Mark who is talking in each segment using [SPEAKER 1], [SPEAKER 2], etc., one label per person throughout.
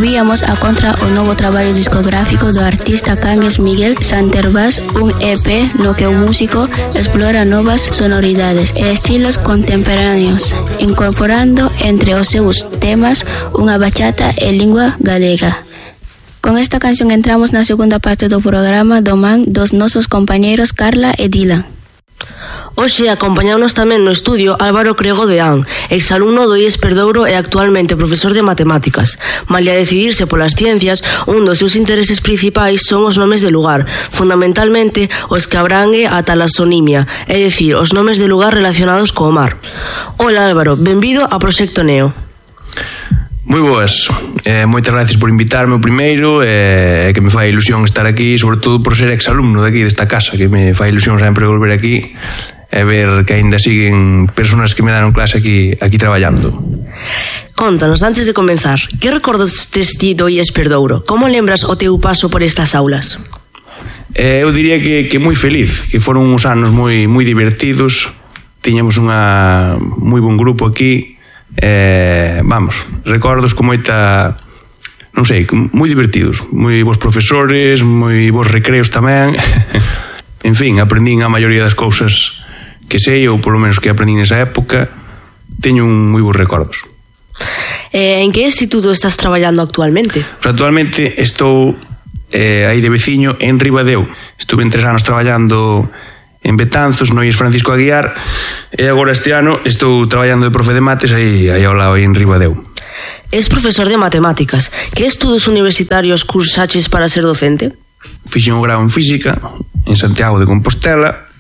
[SPEAKER 1] Ouvíamos a contra o novo traballo discográfico do artista cangues Miguel Santervás, un EP no que o músico explora novas sonoridades e estilos contemporáneos, incorporando entre os seus temas unha bachata e lingua galega. Con esta canción entramos na segunda parte do programa do man dos nosos compañeiros Carla e Dylan.
[SPEAKER 2] Hoxe acompañámonos tamén no estudio Álvaro Crego Deán, exalumno do IES Perdouro e actualmente profesor de matemáticas. Malia decidirse polas ciencias, un dos seus intereses principais son os nomes de lugar, fundamentalmente os que abrangue a talasonimia, é dicir, os nomes de lugar relacionados co mar. Hola Álvaro, benvido a Proxecto Neo.
[SPEAKER 3] Moi boas, moitas gracias por invitarme o primeiro, que me fai ilusión estar aquí, sobre todo por ser exalumno de aquí desta casa, que me fai ilusión sempre volver aquí e ver que aínda siguen persoas que me daron clase aquí traballando.
[SPEAKER 2] Contanos, antes de comenzar, que recordos tes ti do IES Perdouro? Como lembras o teu paso por estas aulas?
[SPEAKER 3] Eu diría que moi feliz, que foron uns anos moi divertidos, tiñamos unha moi bon grupo aquí, recordos con moita, non sei, moi divertidos, moi bons profesores, moi bons recreos tamén. En fin, aprendín a maioría das cousas que sei, ou polo menos que aprendín nesa época. Teño moi bons recordos.
[SPEAKER 2] En que instituto estás traballando actualmente?
[SPEAKER 3] Actualmente estou aí de veciño en Ribadeo. Estuve 3 anos traballando en Betanzos, no IES Francisco Aguiar, e agora este ano estou traballando de profe de mates aí ao lado, aí en Ribadeo.
[SPEAKER 2] Es profesor de matemáticas. Que estudos universitarios cursaches para ser docente?
[SPEAKER 3] Fixen o grau en física en Santiago de Compostela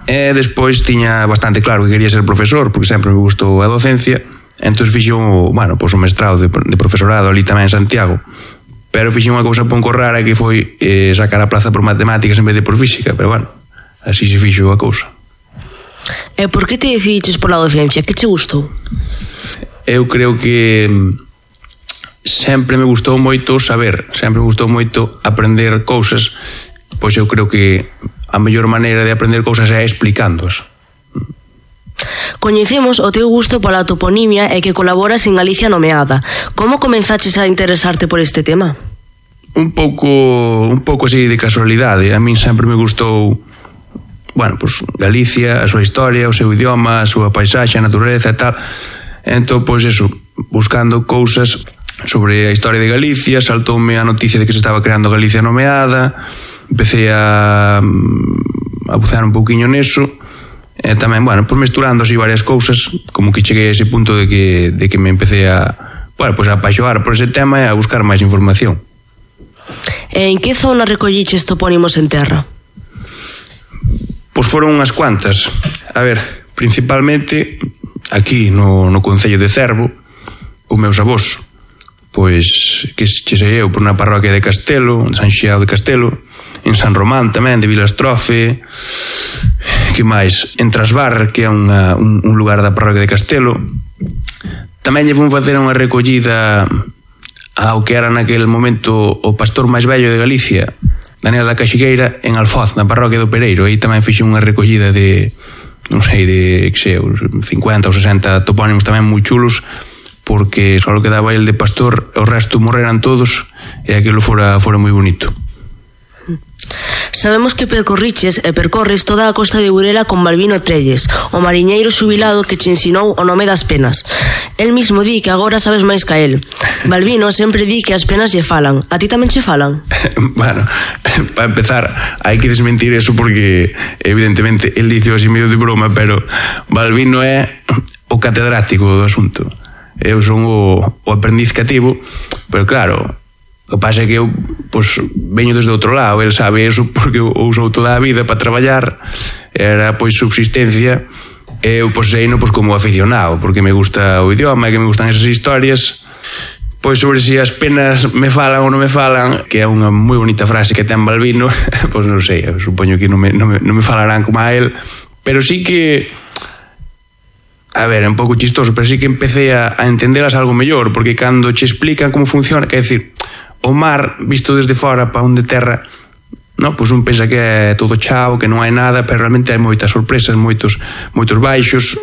[SPEAKER 3] e despois tiña bastante claro que quería ser profesor, porque sempre me gustou a docencia. Entón fixen o mestrado de profesorado ali tamén en Santiago, pero fixen unha cousa pouco rara que foi sacar a plaza por matemáticas en vez de por física, pero así se fixo a cousa.
[SPEAKER 2] E por que te decidiches pola docencia? Que che gustou?
[SPEAKER 3] Eu creo que sempre me gustou moito saber, sempre me gustou moito aprender cousas, pois eu creo que a mellor maneira de aprender cousas é explicándoas.
[SPEAKER 2] Coñecemos o teu gusto pola toponimia e que colaboras en Galicia Nomeada. Como comenzaches a interesarte por este tema?
[SPEAKER 3] Un pouco así de casualidade. A min sempre me gustou Galicia, a súa historia, o seu idioma, a súa paisaxe, a natureza e tal. Entón, buscando cousas sobre a historia de Galicia, saltoume a noticia de que se estaba creando Galicia Nomeada, empecé a bucear un pouquiño neso, e tamén, mesturando así varias cousas, como que cheguei a ese punto de que me empecé a apaixoar por ese tema e a buscar máis información.
[SPEAKER 2] En que zona recolliches topónimos en terra?
[SPEAKER 3] Pois foron unhas cuantas. A ver, principalmente aquí no concello de Cervo, os meus avós, pois que sei eu, por unha parroquia de Castelo, de San Xiao de Castelo, en San Román tamén, de Vilastrofe, que máis, en Trasbarra, que é un lugar da parroquia de Castelo. Tamén lle fun facer unha recollida ao que era naquele momento o pastor máis vello de Galicia, Daniel da Caxigueira, en Alfoz, na parroquia do Pereiro. Aí tamén fixe unha recollida de, non sei, de 50 ou 60 topónimos tamén moi chulos, porque só quedaba el de pastor, o resto morreran todos, e aquilo fora moi bonito.
[SPEAKER 2] Sabemos que percorriches e percorres toda a costa de Burela con Balbino Trelles, o mariñeiro xubilado que che ensinou o nome das penas. El mismo di que agora sabes máis ca el. Balbino sempre di que as penas lle falan. A ti tamén che falan?
[SPEAKER 3] Para empezar, hai que desmentir eso porque evidentemente el dice así medio de broma, pero Balbino é o catedrático do asunto. Eu son o aprendiz cativo, pero claro, o que pasa é que eu veño desde outro lado. El sabe eso porque eu usou toda a vida para traballar, era subsistencia, e eu seino como aficionado, porque me gusta o idioma e que me gustan esas historias. Sobre si as penas me falan ou non me falan, que é unha moi bonita frase que ten Balbino, non sei, eu supoño que non me falarán como a él, pero sí que, a ver, é un pouco chistoso, pero sí que empecé a entendelas algo mellor, porque cando che explican como funciona, quer decir, o mar, visto desde fora para onde terra, no? Pois un pensa que é todo chao, que non hai nada, pero realmente hai moitas sorpresas, moitos baixos.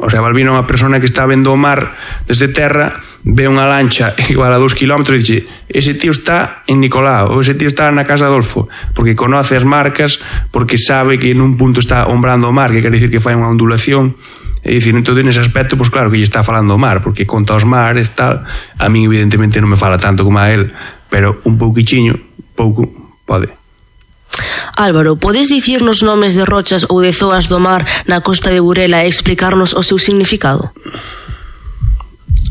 [SPEAKER 3] O sea, Balbino é unha persona que está vendo o mar desde terra, ve unha lancha igual a 2 kilómetros e dice, ese tío está en Nicolau, ou ese tío está na casa de Adolfo, porque conoce as marcas, porque sabe que nun punto está ombrando o mar, que quer dicir que fai unha ondulación. É dicir, entón, nese aspecto, pois claro que lle está falando o mar, porque conta os mares, tal. A mí, evidentemente, non me fala tanto como a él, pero un pouquichiño, pouco, pode.
[SPEAKER 2] Álvaro, podes dicirnos nomes de rochas ou de zoas do mar na costa de Burela e explicarnos o seu significado?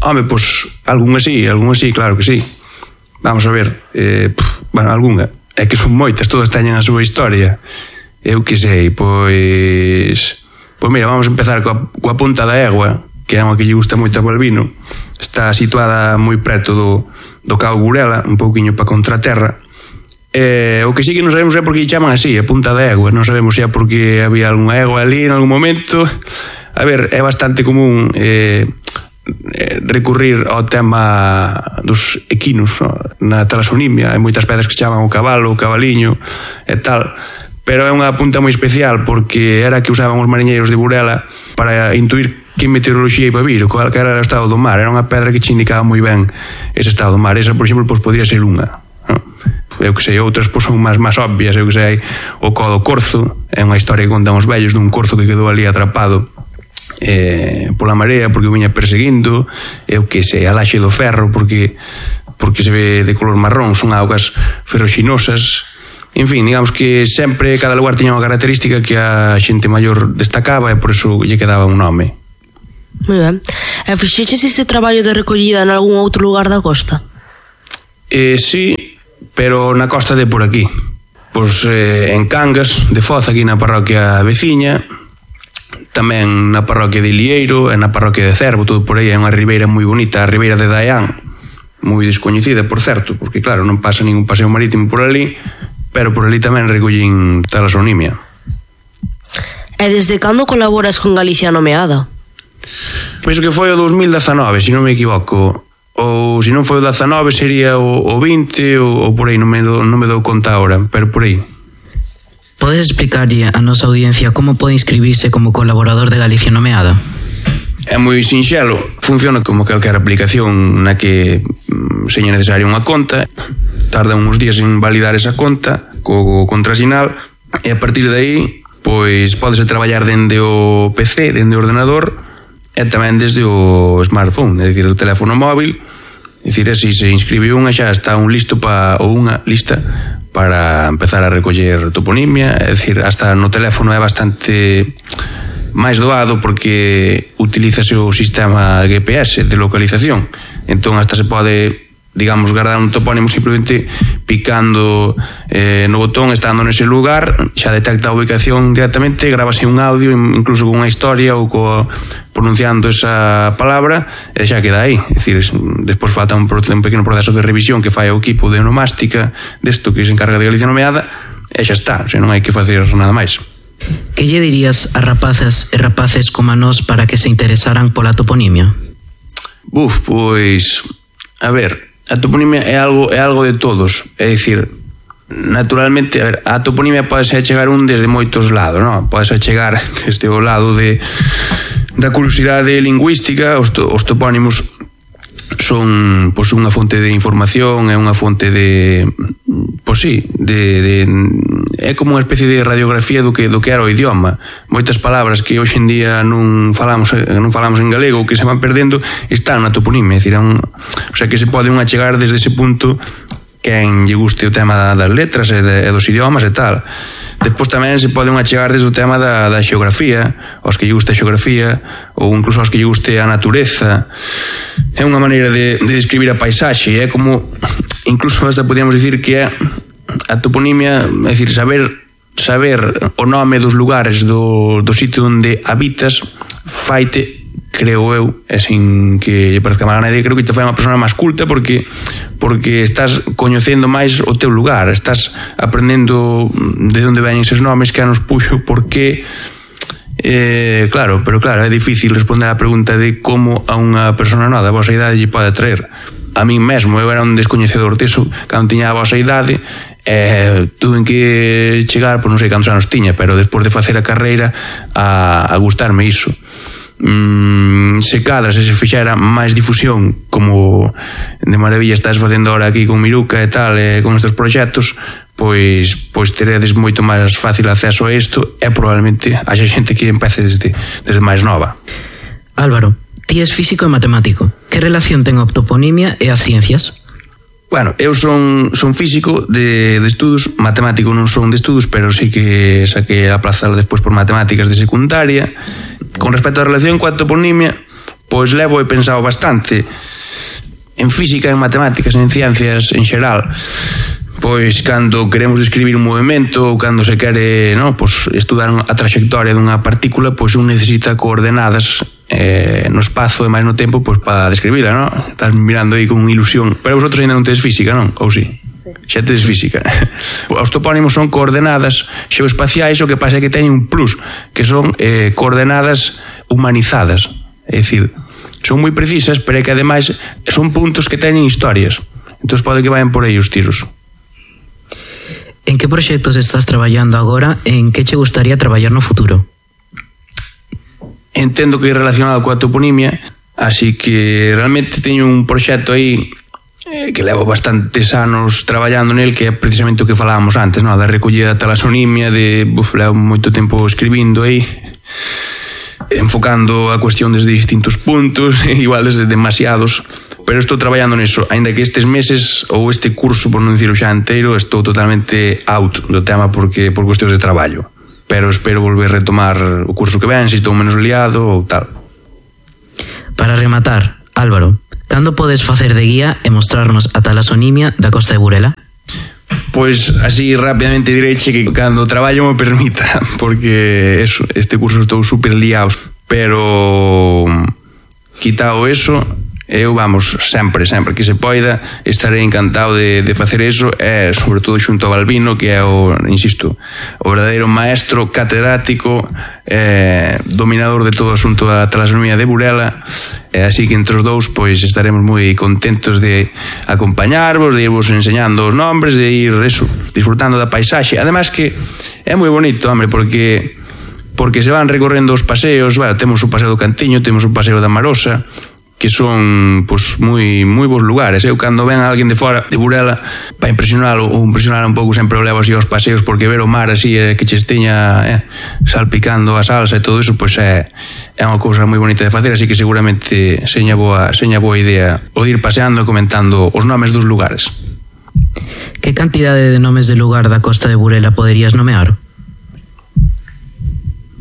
[SPEAKER 3] Home, pois, algunha sí, claro que sí. Vamos a ver, bueno, algunha. É que son moitas, todas teñen a súa historia. Eu que sei, pois mira, vamos a empezar coa Punta da Egua, que é unha que lle gusta moito a Balbino. Está situada moi preto do Cabo Burela, un pouquiño para contraterra. O que sí que non sabemos é por que lle chaman así, a Punta da Egua. Non sabemos se é porque había algunha egua ali en algún momento. A ver, é bastante común recurrir ao tema dos equinos, no? Na talasonimia hai moitas pedras que se chaman o cabalo, o cabaliño e tal, pero é unha punta moi especial porque era que usaban os mariñeiros de Burela para intuir que meteoroloxía iba a vir, que era o estado do mar. Era unha pedra que che indicaba moi ben ese estado do mar. Esa, por exemplo, podría ser unha, no? Eu que sei, outras pois son máis obvias. Eu que sei, o Codo Corzo é unha historia que contan os vellos dun corzo que quedou ali atrapado pola marea porque o viña perseguindo. Eu que sei, a Laxe do Ferro porque se ve de color marrón, son augas ferroxinosas. En fin, digamos que sempre cada lugar tiña unha característica que a xente maior destacaba e por eso lle quedaba un nome.
[SPEAKER 2] Moi ben. E fixeches este traballo de recollida en algún outro lugar da costa?
[SPEAKER 3] Sí, pero na costa de por aquí. Pois en Cangas de Foz, aquí na parroquia veciña, tamén na parroquia de Ilieiro e na parroquia de Cervo, todo por aí. É unha ribeira moi bonita, a ribeira de Daián, moi descoñecida, por certo, porque claro, non pasa ningún paseo marítimo por ali, pero por ali tamén recollín talasonimia.
[SPEAKER 2] E desde cando colaboras con Galicia Nomeada?
[SPEAKER 3] Penso que foi o 2019, se non me equivoco. Ou se non foi o 19 sería o 20 ou por aí, non me dou conta ahora, pero por aí.
[SPEAKER 4] Podes explicarlle a nosa audiencia como pode inscribirse como colaborador de Galicia Nomeada?
[SPEAKER 3] É moi sinxelo, funciona como calquera aplicación na que seña necesaria unha conta, tarda uns días en validar esa conta co contrasinal e a partir de aí pois podese traballar dende o PC, dende o ordenador e tamén desde o smartphone, é dicir, o teléfono móvil. É dicir, así se inscribe unha xa está un listo ou unha lista para empezar a recoller toponimia. É dicir, hasta no teléfono é bastante máis doado porque utilízase o sistema GPS de localización, entón hasta se pode, digamos, guardar un topónimo simplemente picando no botón, estando nese lugar, xa detecta a ubicación directamente, grábase un audio, incluso con unha historia ou pronunciando esa palabra, e xa queda aí. É dicir, despois falta un pequeno proceso de revisión que fai o equipo de onomástica desto que se encarga de Galicia Nomeada, e xa está, non hai que facer nada máis.
[SPEAKER 4] Que lle dirías a rapazas e rapaces como a nós para que se interesaran pola toponimia?
[SPEAKER 3] Pois, a ver, a toponimia é algo de todos. É dicir, naturalmente, a ver, a toponimia pode chegar desde moitos lados, non? Pode chegar desde o lado da curiosidade lingüística. Os topónimos son pois unha fonte de información, é unha fonte de é como unha especie de radiografía do que era o idioma. Moitas palabras que hoxe en día non falamos en galego, que se van perdendo, están na toponimia. É dicir, o sea que se pode achegar desde ese punto quen lle guste o tema das letras e dos idiomas e tal. Despois tamén se pode achegar desde o tema da xeografía, aos que lle guste a xeografía, ou incluso aos que lle guste a natureza. É unha maneira de describir a paisaxe, é como, incluso hasta podríamos dicir que é a toponimia, é dicir, saber o nome dos lugares do sitio onde habitas faite, creo eu, e sin que lle parezca mal a nadie, creo que te fai unha persona máis culta porque estás coñecendo máis o teu lugar, estás aprendendo de onde veñen eses nomes, que nos puxo, por qué. Claro, é difícil responder á pregunta de como a unha persona da vosa idade lle pode atraer. A min mesmo, eu era un descoñecedor disso cando tiña a vosa idade tuve que chegar, non sei cantos anos tiña, pero despois de facer a carreira a gustarme iso. Se cadra, se fixera máis difusión, como de maravilla estás facendo ahora aquí con Miruca e tal, con estes proxectos, pois teredes moito máis fácil acceso a isto, e probablemente haxa xente que empece desde máis nova.
[SPEAKER 4] Álvaro, ti és físico e matemático. Que relación ten a toponimia e as ciencias?
[SPEAKER 3] Bueno, eu son físico de estudos, matemático non son de estudos, pero sí que saquei a plaza despois por matemáticas de secundaria. Con respecto á relación coa toponimia, pois levo e pensado bastante en física, en matemáticas, en ciencias en xeral. Pois cando queremos describir un movimento ou cando se quere, pois estudar a traxectoria dunha partícula, pois un necesita coordenadas no espazo e máis no tempo pois para describirla, non? Estás mirando aí con ilusión. Pero vosotros ainda non tedes física, non? Ou sí? Xa tedes física. Os topónimos son coordenadas xeoespaciais, o que pasa é que teñen un plus, que son coordenadas humanizadas. É dicir, son moi precisas, pero é que ademais son puntos que teñen historias. Entón pode que vayan por aí os tiros.
[SPEAKER 4] En que proxectos estás traballando agora e en que che gustaría traballar no futuro?
[SPEAKER 3] Entendo que é relacionado coa toponimia, así que realmente teño un proxecto aí que levo bastantes anos traballando nel, que é precisamente o que falábamos antes, da recollida da talasonimia, levo moito tempo escribindo aí, enfocando a cuestión desde distintos puntos, igual desde demasiados, pero estou traballando niso, aínda que estes meses ou este curso, por non dicirlo xa inteiro, estou totalmente out do tema por cuestións de traballo. Pero espero volver a retomar o curso que ven, se estou menos liado ou tal.
[SPEAKER 4] Para rematar, Álvaro, cando podes facer de guía e mostrarnos a talasonimia da Costa de Burela?
[SPEAKER 3] Pois así rapidamente direiche que cando o traballo me permita, porque este curso estou super liados, pero quitado eso, eu sempre que se poida estarei encantado de facer eso, e sobre todo xunto a Balbino, que é o verdadeiro maestro catedrático, dominador de todo o asunto da talasonimia de Burela, así que entre os dous pois estaremos moi contentos de acompañarvos, de irvos enseñando os nombres, de ir disfrutando da paisaxe. Ademais que é moi bonito, hombre, porque se van recorrendo os paseos, temos o paseo do Cantiño, temos o paseo da Marosa, que son moi bons lugares. Eu cando ven a alguén de fora de Burela, para impresionar un pouco, sempre o levo así aos paseos, porque ver o mar así que che esteña salpicando a salsa e todo iso, pois é unha cousa moi bonita de facer, así que seguramente seña boa idea o de ir paseando e comentando os nomes dos lugares.
[SPEAKER 4] Que cantidade de nomes de lugar da Costa de Burela poderías nomear?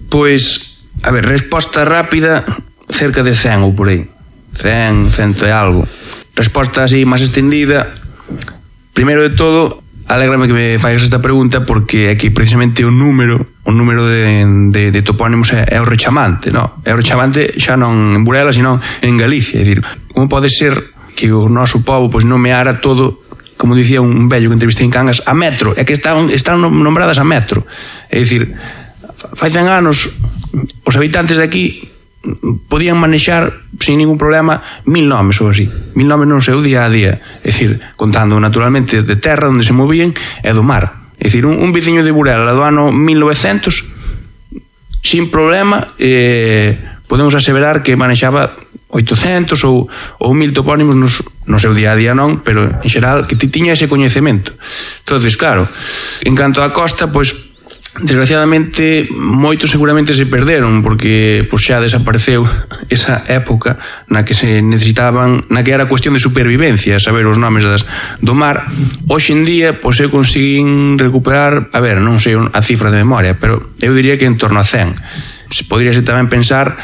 [SPEAKER 3] Pois, a ver, resposta rápida, cerca de 100 ou por aí. 100 e algo. Resposta así máis extendida, primeiro de todo, alégrame que me faigas esta pregunta, porque aquí precisamente o número de topónimos é o rechamante, non? É o rechamante xa non en Burela, sino en Galicia. É dicir, como pode ser que o noso povo pois nomeara todo, como dicía un vello que entrevistei en Cangas, a metro? É que están nombradas a metro. É dicir, fai 100 anos os habitantes de aquí podían manexar sin ningún problema 1000 nomes ou así, 1000 nomes no seu día a día, é dicir, contando naturalmente de terra onde se movían e do mar. É dicir, un veciño de Burela do ano 1900 sin problema podemos aseverar que manexaba 800 ou 1000 topónimos no seu día a día, non, pero en xeral que tiña ese coñecemento. Entonces, claro, en canto á costa, pois desgraciadamente moitos seguramente se perderon, porque pois xa desapareceu esa época na que se necesitaban, na que era cuestión de supervivencia saber os nomes do mar. Hoxe en día pois eu conseguín recuperar, a ver, non sei a cifra de memoria, pero eu diría que en torno a 100. Se podría ser tamén pensar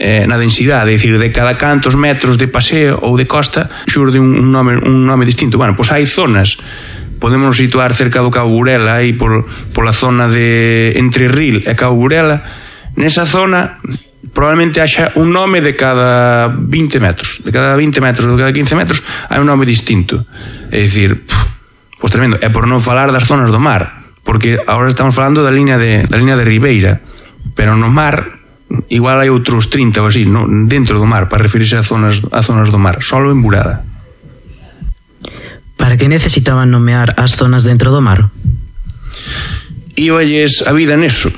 [SPEAKER 3] na densidade, é dicir, de cada cantos metros de paseo ou de costa xurde un nome distinto. Bueno, pois hai zonas, podemos situar cerca do Cabo Burela, aí pola zona de entre Ril e Cabo Burela. Nesa zona probablemente haxa un nome de cada 20 metros, de cada 20 metros ou de cada 15 metros hai un nome distinto. É dicir, pois tremendo. É por non falar das zonas do mar, porque agora estamos falando da liña de Ribeira, pero no mar igual hai outros 30 ou así, dentro do mar, para referirse a zonas do mar, solo en Burela.
[SPEAKER 4] Para que necesitaban nomear as zonas dentro do mar?
[SPEAKER 3] Íballes a vida neso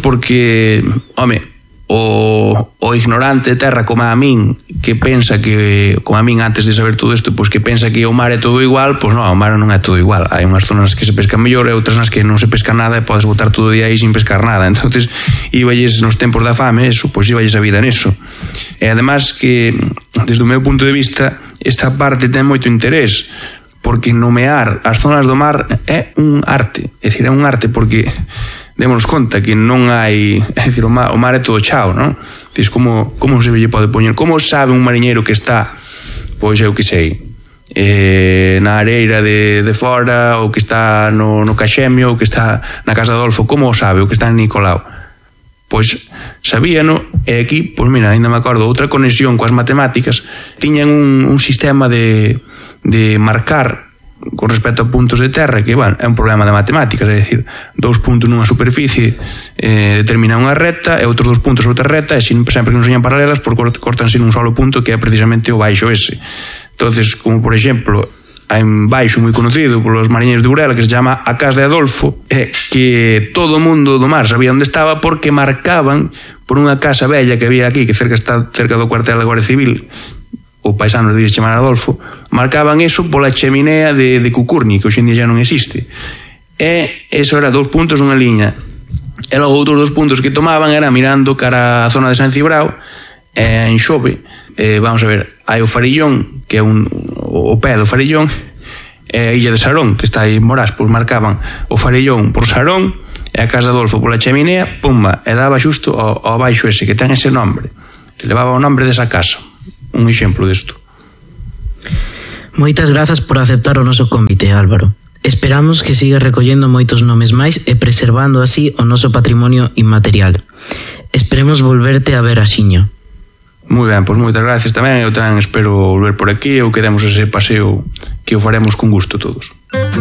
[SPEAKER 3] porque, home, o ignorante de terra como a min, que pensa que, como a min antes de saber todo isto, pois que pensa que o mar é todo igual, pois non, o mar non é todo igual. Hai unhas zonas que se pescan mellor e outras nas que non se pesca nada e podes botar todo o día aí sin pescar nada. Entonces, íballes nos tempos da fame, eso, pois íballes a vida neso. E además que, desde o meu punto de vista, esta parte ten moito interés, porque nomear as zonas do mar é un arte. É dicir, é un arte porque démonos conta que non hai, é dicir, o mar é todo chao, non? Diz, como se lle pode poñer, como sabe un mariñeiro que está, pois eu que sei, na areira de fora, ou que está no Caxemio, ou que está na Casa de Adolfo, como o sabe, ou que está en Nicolau? Pois sabíano, e aquí, pois mira, ainda me acordo, outra conexión coas matemáticas, tiñan un sistema de marcar con respecto a puntos de terra, que, bueno, é un problema de matemáticas, é dicir, 2 puntos nunha superficie determinan unha reta e outros 2 puntos outra reta, e sempre que non señan paralelas, cortanse nun solo punto, que é precisamente o baixo ese. Entonces, como por exemplo, hai un baixo moi conocido polos mariñeiros de Burela que se chama a Casa de Adolfo, que todo o mundo do mar sabía onde estaba porque marcaban por unha casa bella que había aquí, que está cerca do cuartel da Guardia Civil, o paisano debía chamar Adolfo, marcaban eso pola cheminea de Cucurni, que hoxe en día xa non existe. E eso era 2 puntos nunha liña. E logo outros 2 puntos que tomaban era mirando cara a zona de San Cibrao, en Xove, vamos a ver, hai o Farillón, que é o pé do Farillón, e a Illa de Sarón, que está aí en Morás, pois marcaban o Farillón por Sarón, e a Casa de Adolfo pola cheminea, pumba, e daba xusto ao baixo ese, que ten ese nombre, que levaba o nombre desa casa. Un exemplo disto.
[SPEAKER 4] Moitas grazas por aceptar o noso convite, Álvaro. Esperamos que sigas recollendo moitos nomes máis e preservando así o noso patrimonio inmaterial. Esperemos volverte a ver axiña.
[SPEAKER 3] Moi ben, pois moitas gracias tamén. Eu tamén espero volver por aquí ou que demos ese paseo que o faremos con gusto todos.